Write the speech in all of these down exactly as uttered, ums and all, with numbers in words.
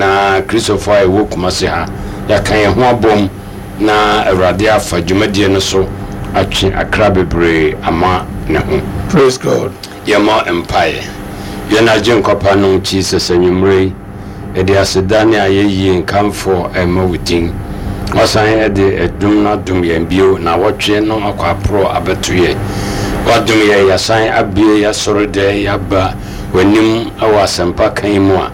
Nyinaa Kristofoɔ a ɛwɔ Kumase ha, yɛaka yɛn ho abom na Awurade afa dwumadie no so atwe akra bebree ama ne ho. Praise God. Yɛmmɔ mpaeɛ. Yɛn Agyenkwa no Jesus, anwummerɛ yi yɛde aseda ne ayɛyie nkamfoɔ ɛma wo din. Wasan ɛde ɛdum no adom yɛn bio na wɔtwe no akɔ aporɔ abɛto yɛ. Wadom yɛn, yɛasan abie yɛasɔre dɛ yɛaba w'anim ɛwɔ asɛmpa kan mu a,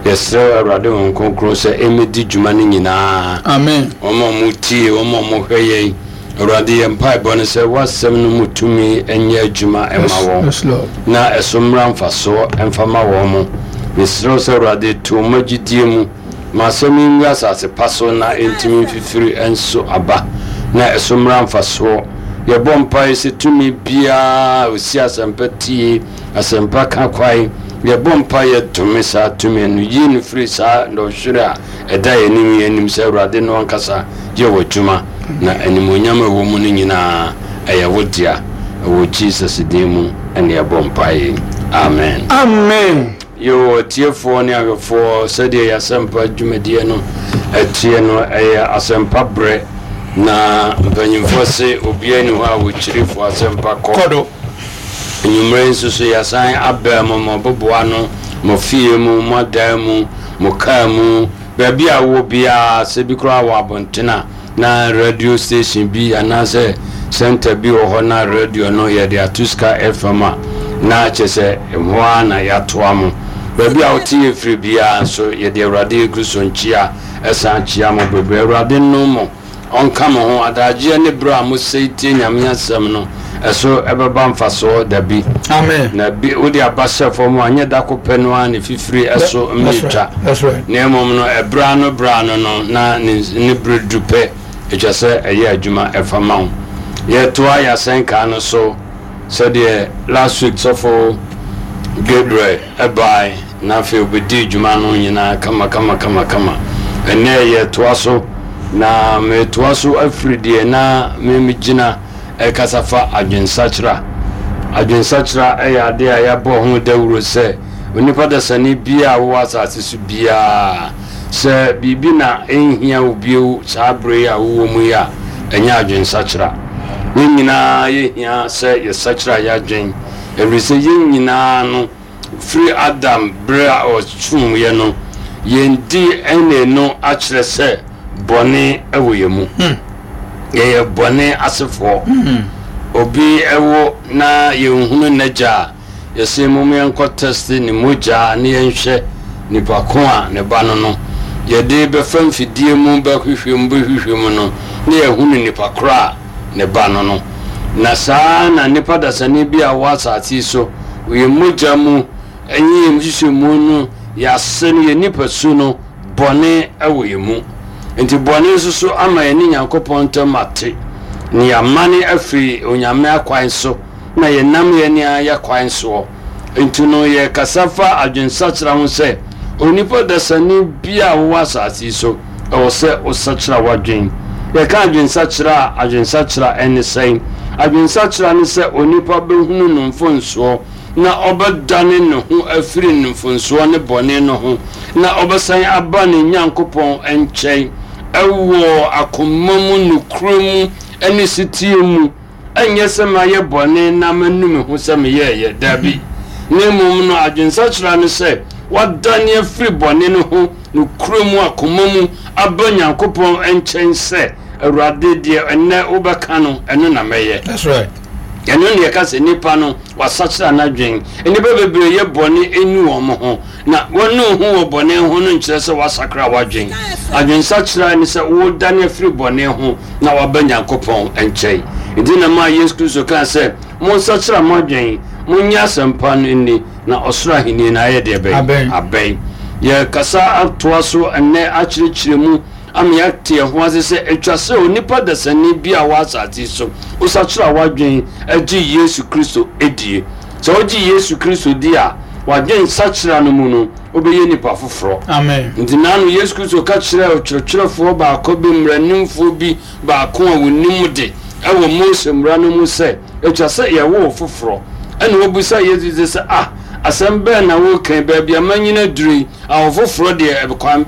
yɛsrɛ Awurade wɔn Kronkron sɛ ɛmmɛdi dwuma no nyinaa. Amen. Wɔn a wɔtie, wɔn a wɔhwɛ yɛn, Awurade, yɛn mpaebɔ no sɛ w'asɛm no mu tumi nyɛ adwuma ɛma wɔn Yes, Lord. na ɛso mmra mfasoɔ ɛmfa ma wɔn mo. Mesrɛ wo sɛ Awurade, to wɔn agyidie mu ma asɛm yi ngu asase pa so na ɛntumi mfifiri nso aba na ɛso mmra mfasoɔ. Yɛbɔ mpae sɛ tumi biara a ɔsi asɛmpa tie, asɛmpa ka kwae, yɛbɔ mpae, yɛdome saa tumi no, yi no firi saa dɔhwere a ɛda yɛn anim. Yɛn anim sɛ Awurade no ankasa yɛ wɔ adwuma na animonyam a ɛwɔ mu no nyinaa ɛyɛ wo dea. Ɛwɔ Jesus din mu ɛne yɛbɔ mpae, amen. Amen. Yɛwɔ tiefoɔ ne ahwɛfoɔ, sɛdeɛ yɛasɛmpa dwumadie no ɛteɛ no, ɛyɛ asɛmpa berɛ na mpanyimfoɔ se obiara ni hɔ a wɔkyirifoɔ asɛmpa kɔ. Kɔdo. Anwummerɛ nso so yɛasan abɛn mo, mo aboboa no, mo fie mu, mo adan mu, mo kaa mu, baabi a wɔ biara, sɛ bi koraa wɔ abɔnten a na radio station bi anaasɛ center bi wɔ hɔ na radio no yɛde ato Sika F M a, na kyerɛ sɛ ɛhɔ ara na yɛatoa mo. Baabi a wote yɛ firi biara nso, yɛde Awurade Kristo nkyia ɛsan kyia mo bebree. Awurade no mo ɔnka mo ho. Adagyeɛ ne berɛ a mosɛe tie Nyame asɛm no, ɛso ɛbɛba mfasoɔ da bi. Amen. Na bi wode aba hyɛ fam a, nyɛ da ko pɛ no a ne fifiri ɛso That's mmetwa. right. That's right. Na mmom no, ɛberɛ ano berɛ ano no na ne ne berɛ du pɛ, ɛtwa sɛ ɛyɛ adwuma ɛfa ma wo. Yɛtoa yɛasɛnka no so sɛdeɛ last week sɔfo Gabriel ɛbae na afei obɛdi dwuma no nyinaa kama kama kama kama. Ɛnɛ yɛtoa so na metoa so afiri deɛ na memegyina ɛkasa fa adwensakyera. Adwensakyera ɛyɛ adeɛ a yɛabɔ ho dawuro sɛ onipa dasani bia a wowɔ asase so biara, sɛ biribi na ɛnhia wo bio saa bere yi a wowɔ mu yi a, ɛnyɛ adwensakyera. Yɛn nyinaa yɛhia sɛ yɛsakyera yɛadwen, ɛfiri sɛ yɛn nyinaa no, firi Adam berɛ a ɔsomyɛ no, yɛn D N A no akyerɛ sɛ bɔne ɛwɔ yɛn mu. Yɛyɛ bɔne asefoɔ. Obi ɛwɔ na yɛnhunu n'agya a, yɛsɛ mom yɛnkɔ test ne mogya ne yɛnhwɛ nipa ko a ne ba no no yɛde bɛfa mfidie mu bɛhwehwɛ mu bɛhwehwɛ mu no na yɛhunu nipa korɔ a ne ba no no Na saa na nipa dasani bi a wɔ asase yi so, yɛn mogya mu ɛnyɛ yɛn hwehwɛ mu no, yɛase no, yɛn nipa su no, bɔne ɛwɔ yɛn mu. Nti bɔne nso so ama yɛne Nyankopɔn ntam ate ne yɛamane afiri Onyame akwan so na yɛnam yɛn a yɛ kwan soɔ. Nti no, yɛkasa fa adwensakyera ho sɛ onipa dasani bi a wowɔ asase yi so, ɛwɔ sɛ wosakyera w'adwen. Yɛka adwensakyera a, adwensakyera ɛne sɛn? Adwensakyera ne sɛ onipa bɛhunu no mfonsoɔ na ɔbɛdane ne ho afiri ne mfonsoɔ ne bɔne no ho na ɔbɛsan aba ne Nyankopɔn nkyɛn ɛwɔ akoma mu, nokura mu ɛne setie mu. Ɛnyɛ sɛ mayɛ bɔne na manu me ho sɛ meyɛɛyɛ, daabi, na mmom no, adwensakyera ne sɛ wadane afiri bɔne no ho nokura mu, akoma mu, aba Nyankopɔn nkyɛn sɛ, Awurade, deɛ ɛnnɛ wobɛka no, ɛno na mɛyɛ. That's right. Ɛno ne yɛka sɛ nipa no wasakyera n'adwen. Nnipa bebree yɛ bɔne ɛnu wɔn ho na wɔne ho wɔ bɔne ho no nkyerɛ sɛ wasakra w'adwen. Adwensakyera ne sɛ wodane afiri bɔne ho na waba Nyankopɔn nkyɛn. Nti na maa Yesu Kristo kaa sɛ, monsakyera mo adwen, monyɛ asɛmpa no nni na ɔsoro ahenni no ayɛ deɛ bɛn? Abɛn. Abɛn. Yɛkasa atoa so ɛnnɛ akyerɛkyerɛ mu ama yɛate ɛho ase sɛ atwa sɛ onipa dasani bi a wɔ asase so wosakyera w'adwen agye Yesu Kristo adie. Sɛ wogye Yesu Kristo di a, w'adwen sakyera no mu no, wobɛyɛ nipa foforɔ. Amen. Nti naano Yesu Kristo ka kyerɛɛ ɔkyerɛkyerɛfoɔ baako bi, mmaranimfoɔ bi baako a wɔnim de ɛwɔ Mose mmara no mu, sɛ atwa sɛ yɛwo wo foforɔ. Ɛna wɔbusa Yesu sɛ sɛ ah, asɛm bɛn na woka? Baabi a manyina duro yi, awo foforɔ deɛ, kwan